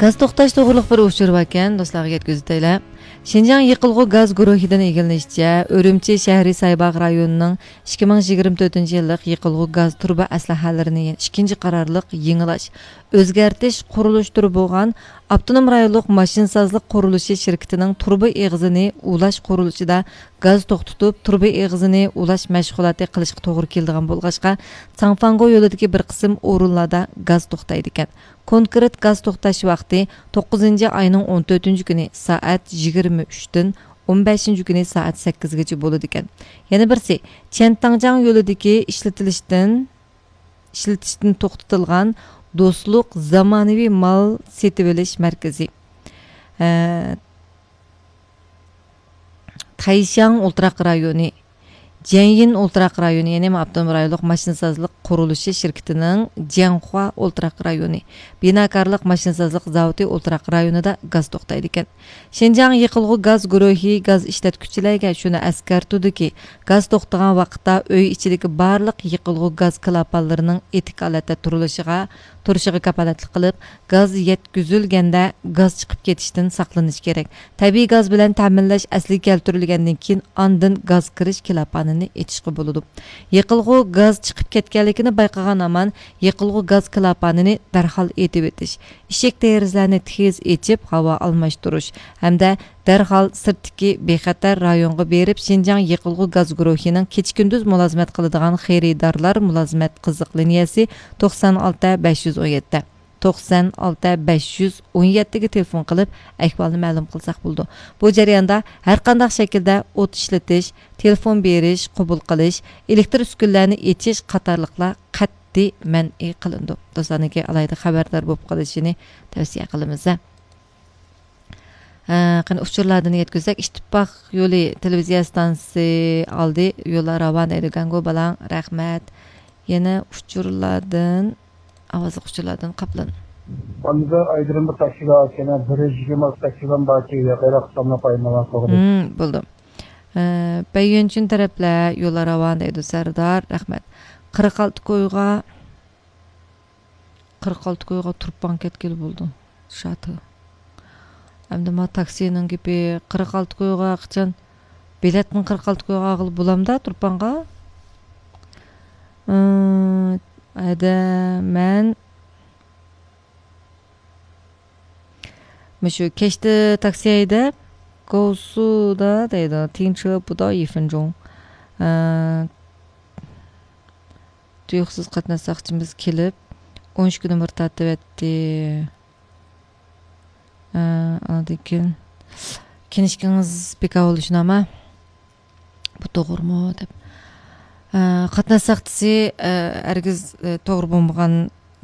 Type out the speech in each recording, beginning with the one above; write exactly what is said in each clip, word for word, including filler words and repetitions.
گاز توختاش توغرۇلۇق بىر ئۇچۇر باركەن، دوستلارغا يەتكۈزۈۋېتەيلى. شىنجاڭ يېقىلغۇ گاز گۇرۇھىدىن ئىگىلىنىشىچە، ئۈرۈمچى شەھىرى سايباغ رايونىنىڭ ئىككى مىڭ يىگىرمە تۆتىنچى يىللىق يېقىلغۇ گاز تۇرۇبا ئەسلىھەلىرىنى ئىككىنچى قارارلىق يېڭىلاش، ئۆزگەرتىش، قۇرۇلۇش تۈرى بولغان ئاپتونوم رايونلۇق ماشىنىسازلىق قۇرۇلۇشى شىركىتىنىڭ تۇرۇبا ئېغىزىنى ئۇلاش قۇرۇلۇشىدا گاز توختىتىپ، تۇرۇبا ئېغىزىنى ئۇلاش مەشغۇلاتى قىلىشقا توغرا كېلىدىغان بولغاچقا، ساڭفاڭگو يولىدىكى بىر قىسىم ئورۇنلاردا گاز توختايدىكەن. كونكرېت گاز توختاش ۋاقتى توققۇزىنچى ئاينىڭ ئون تۆتىنچى كۈنى سائەت يىگىرمە ئۈچتىن ئون بەشىنچى كۈنى سائەت سەككىزگىچە بولىدىكەن. يەنە بىرسى، چيەنتاڭجياڭ يولىدىكى ئىشلىتىلىشتىن، ئىشلىتىشتىن توختىتىلغان دوستلۇق زامانىۋى مال سېتىۋېلىش مەركىزى. ئە، تەيشياڭ ئولتۇراق رايونى، جيەنيىن ئولتۇراق رايونى، يەنى ئاپتونوم رايونلۇق ماشىنىسازلىق قۇرۇلۇشى شىركىتىنىڭ جيەنخۇا ئولتۇراق رايونى، بىناكارلىق ماشىنىسازلىق زاۋۇتى ئولتۇراق رايونىدا گاز توختايدىكەن. شىنجاڭ يېقىلغۇ گاز گۇرۇھى گاز ئىشلەتكۈچىلەرگە شۇنى ئەسكەرتىدۇكى، گاز توختىغان ۋاقىتتا ئۆي ئىچىدىكى بارلىق يېقىلغۇ گاز كىلاپانلىرىنىڭ ئېتىك ھالەتتە تۇرۇلۇشىغا، تۇرۇشىغا كاپالەتلىك قىلىپ، گاز يەتكۈزۈلگەندە گاز چىقىپ كېتىشتىن ساقلىنىش كېرەك. تەبىئىي گاز بىلەن تەمىنلەش ئەسلىگە كەلتۈرۈلگەندىن كېيىن ئاندىن گاز كىرىش كىلاپانىنى ئېچىشقا بولىدۇ. يېقىلغۇ گاز چىقىپ كەتكەنلىكىنى بايقىغان ھامان يېقىلغۇ گاز كىلاپانىنى دەرھال ئېتىۋېتىش، ئىشىك دېرىزىلەرنى تېز ئېچىپ ھاۋا ئالماشتۇرۇش ھەمدە دەرھال سىرتتىكى بىخەتەر رايونغا بېرىپ، شىنجاڭ يېقىلغۇ گاز گۇرۇھىنىڭ كېچە-كۈندۈز مۇلازىمەت قىلىدىغان خېرىدارلار مۇلازىمەت قىزىق لىنىيەسى توقسان ئالتە بەش يۈز ئون يەتتە، توقسان ئالتە بەش يۈز ئون يەتتىگە تېلېفون قىلىپ، ئەھۋالنى مەلۇم قىلساق بولىدۇ. بۇ جەرياندا ھەرقانداق شەكىلدە ئوت ئىشلىتىش، تېلېفون بېرىش، قوبۇل قىلىش، ئېلېكتر ئۈسكۈنىلەرنى ئېچىش قاتارلىقلار قەتئىي مەنئى قىلىنىدۇ. دوستلارنىڭكى ئالاھىدە خەۋەردار بولۇپ قېلىشىنى تەۋسىيە قىلىمىز. ھە، قېنى ئۇچۇرلاردىن يەتكۈزسەك، ئىتتىپاق يولى تېلېۋىزىيە ئىستانسىسى ئالدى يوللار راۋان دەيدۇ. گاڭگو بالاڭ، رەھمەت. يەنە ئۇچۇرلاردىن، ئاۋازلىق ئۇچۇرلاردىن قاپلان. ئاندا ئايدىرىم بىر تاكسىلار ئىكەن، بىر يۈز يىگىرمە تاكسىلار باركى، ياقىراق ساملاپ ئايمىغان قوغدى. ھىم، بولدى. ئە، بەييۈنچۈن تەرەپلەر يوللار راۋان دەيدۇ، سەردار، رەھمەت. قىرىق ئالتە كويغا، قىرىق ئالتە كويغا تۇرپان كەتكىلى بولىدۇ. شاتى. ئەمدى ما تاكسىنىڭ گېپى، قىرىق ئالتە كويغا قاچان بېلەتنى قىرىق ئالتە كويغا ئالغىلى بولامدا تۇرپانغا؟ ئىم، ھەدە، مەن مۇشۇ كەچتە تاكسى ھەيدەپ، گوسۇدا دەيدۇ، تىڭچە بۇدا يىفىنجۇڭ. ئە، تۇيۇقسىز قاتناش ساقچىمىز كېلىپ، ئون ئىككى نومۇر تارتىۋەتتى. ئە، ئاندىن كېيىن، كىنىشكىڭىز بىكار بولۇشىنى ئەمە، بۇ توغرىمۇ دەپ. ئە، قاتناش ساقچىسى، ئە، ھەرگىز، ئە، توغرا بولمىغان،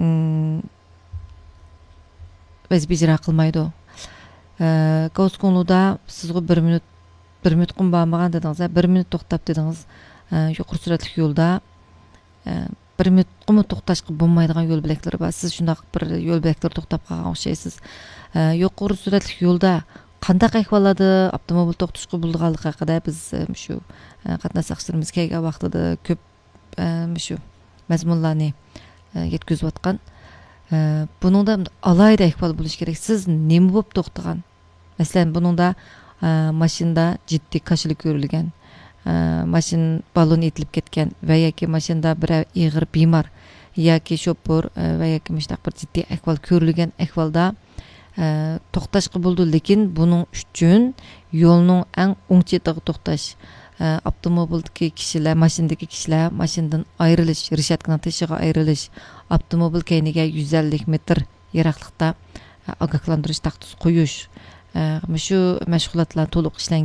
ئىم، ۋەزىپە ئىجرا قىلمايدۇ. ئە، گاۋسكوڭلۇدا سىزغۇ بىر مىنۇت، بىر مىنۇتقىمۇ بارمىغان دېدىڭىز، ھە، بىر مىنۇت توختاپ دېدىڭىز. ئە، يۇقىرى سۈرئەتلىك يولدا، ئە، بىر مىنۇتقىمۇ توختاشقا بولمايدىغان يول بۆلەكلىرى بار. سىز شۇنداق بىر يول بۆلەكلىرى توختاپ قالغان ئوخشايسىز. ئە، يۇقىرى سۈرئەتلىك يولدا قانداق ئەھۋاللاردا ئاپتوموبىل توختىتىشقا بولىدىغانلىقى ھەققىدە بىز، ئە، مۇشۇ، ئە، قاتناش ساقچىلىرىمىز كەلگەن ۋاقتىدا كۆپ ئە، مۇشۇ مەزمۇنلارنى، ئە، يەتكۈزۈۋاتقان. ئە، بۇنىڭدا ئالاھىدە ئەھۋال بولۇشى كېرەك. سىز نېمە بولۇپ توختىغان؟ مەسىلەن، بۇنىڭدا، ئە، ماشىنىدا جىددىي كاشىلا كۆرۈلگەن، ئە، ماشىنا بالون ئېتىلىپ كەتكەن ۋە ياكى ماشىنىدا بىرەر ئېغىر بىمار ياكى شوپۇر، ئە، ۋە ياكى مۇشۇنداق بىر جىددىي ئەھۋال كۆرۈلگەن ئەھۋالدا، ئە، توختاشقا بولىدۇ، لېكىن بۇنىڭ ئۈچۈن يولنىڭ ئەڭ ئوڭ چېتىغا توختاش، ئە، ئاپتوموبىلدىكى كىشىلەر، ماشىنىدىكى كىشىلەر ماشىنىدىن ئايرىلىش، رېشاتكىنىڭ تېشىغا ئايرىلىش، ئاپتوموبىل كەينىگە يۈز ئەللىك مېتىر يىراقلىقتا، ئە، ئاگاھلاندۇرۇش تاختىسى قويۇش، ئە، مۇشۇ مەشغۇلاتلار تولۇق ئىشلەنگەن.